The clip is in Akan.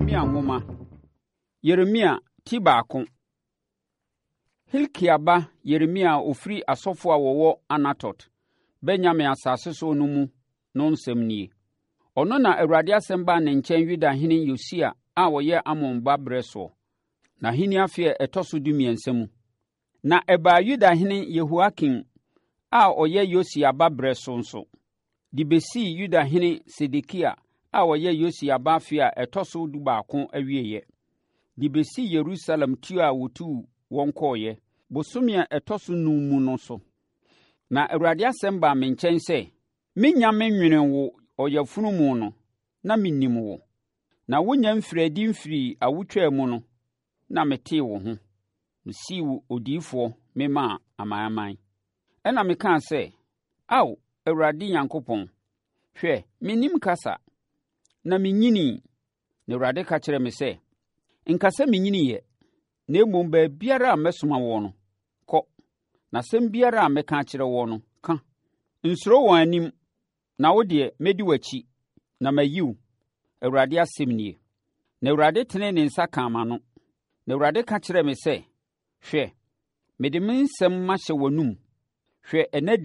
Yeremia nwoma. Yeremia ti baako. Hilkia ba Yeremia a ɔfiri asɔfoɔ a wɔwɔ Anatot, Benyamin asase so no mu no nsɛm nie. Ɔno na Awurade asɛm baa ne nkyɛn Yudahene Yosia a ɔyɛ Amon ba berɛ soɔ, n'ahennie afe a ɛtɔ so 13 mu. Na ɛbaa Yudahene Yehoiakim a ɔyɛ Yosia ba berɛ so nso, de bɛsii Yudahene Sedekia a ɔyɛ Yosia ba afe a ɛtɔ so 11 awieeɛ, de bɛsi Yerusalem tuo a wɔtuu wɔn kɔeɛ, bosome a ɛtɔ so num mu no so. Na Awurade asɛm baa me nkyɛn sɛ, Mennya menwenee wo ɔyafunu mu no, na menim wo, na wonnya mfirii adi mfirii awotwaa mu no, na metee wo ho, mesii wo odiyifoɔ memaa amanaman. Ɛnna mekaa sɛ, Ao, Awurade Nyankopɔn, hwɛ, mennim kasa, na mennyinii. Na Awurade ka kyerɛɛ me sɛ, Nka sɛ menyiniiɛ, na mmom baabiara a mɛsoma woɔ no, kɔ, na asɛm biara a mɛka akyerɛ woɔ no, ka. Nsuro wɔn anim, Na wo deɛ, mɛdi w'akyi, na mayi wo, Awurade asɛm nie. Na Awurade tenee ne nsa kaa m'ano, na Awurade ka kyerɛɛ me sɛ, Hwɛ, mede me nsɛm mahyɛ w'anomu. Hwɛ, ɛnnɛ da